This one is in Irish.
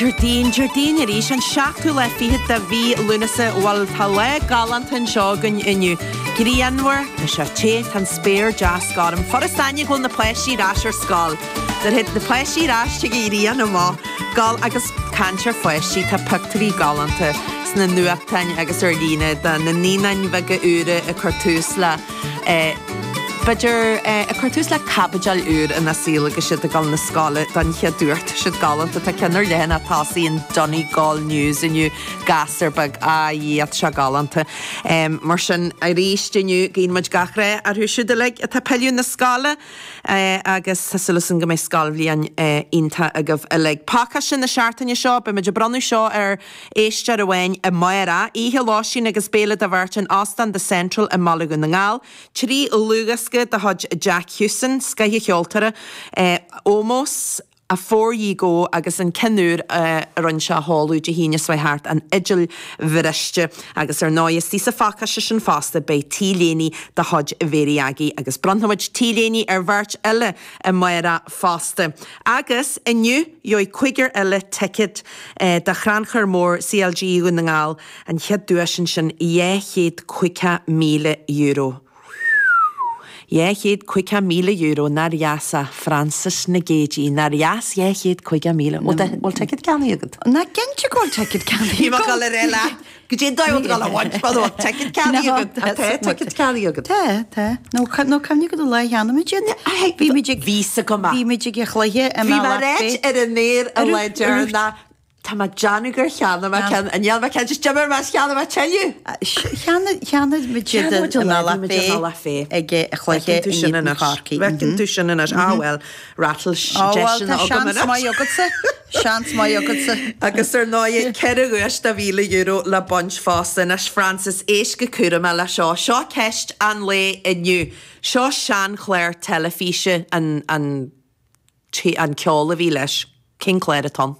Déardaoin, Déardaoin arís, an seachtú lá fichead de mhí Lúnasa. Bhuel, tá lá galánta anseo againn inniu. Grianmhar, tá sé te, tá an spéir deas gorm. Furast aithne go bhfuil na páistí ar ais ar scoil. Nuair a théid na páistí ar ais tig an ghrian amach. Gol agus caint ar pháistí, tá pictiúirí galánta sna nuachtáin agus ar líne de na naíonáin bheaga úra ag cur tús le b'fhéidir ag cur tús le caibidil úr ina saol agus iad ag dul na scoile don chéad uair. Tá siad galánta. Tá ceann ar leathanach tosaigh an Donegal News inniu, gasúr beag, a Dhia, tá sé galánta. Mar sin, arís inniu, guíonn muid gach rath orthu siúd uilig atá ag pilleadh na scoile agus tá súil againn go mbeidh scoilbhliain iontach agaibh uilig. Pacáiste na seachtaine seo, beidh muid ag bronnadh seo ar éisteoir amháin amárach, oíche lóistín agus béile do bheirt in Óstán The Central i mBaile Dhún na nGall, 3 dhlúthdhiosca de chuid Jack Hewson, scothcheoltóir, Ómós, Afore Ye Go agus an ceann úr a rinne sé a sheoladh Dé hAoine seo chuaigh thart, An Fhidil Bhriste. Agus ar ndóigh, istigh sa phacáiste sin fosta beidh T-léine de chuid Mhéirí Aggie agus bronnfaidh muid T-léiní ar bheirt eile amárach fosta. Agus inniu gheobhaidh cúigear eile ticéad do Chrannchur Mór CLG Dhún na nGall, an chéad duais ansin, €250,000. €250,000, nár dheas é, Frances na Géidí, nár dheas 250,000? Bhfuil ticéad ceannaithe agat? Ná cinnte go bhfuil ticéad ceannaithe Bhí mé ag dul a rá leat, go dtí an dóigh bhfuil tú ag dul a bhaint mar bhfuil ticéad ceannaithe agat. Tá ticéad ceannaithe agat. Tá, tá. Nó nó cuimhnigh go do lá cheana muid iad. Bhí muid ag Bhí 's agam. Bhí muid ag an chluiche i Bhí mé ag ráit ar an aer an lá deireanach Tá mé ag déanamh gur cheannaigh mé ceann, an ndéanfaidh mé ceann, just d'imir mé is cheannaigh mé tuilleadh. Cheannaigh, cheannaigh muid iad i mBealach Féich ag an chluiche Feiceann tú in sin éadan anois. Chorcaí. Feiceann tú sin anois. Ah bhuel, rattle Á bhuel, deiseanna tá agam seans anois. maith agatsa, seans maith agatsa. Agus ar ndóigh, 4 dhuais de €1,000 le baint fosta. Anois Frances, éist go cúramach le seo. Seo ceist an lae inniu. Seo seanchlár teilifíse an, an, an ceol a bhí leis. Cén clár atá ann?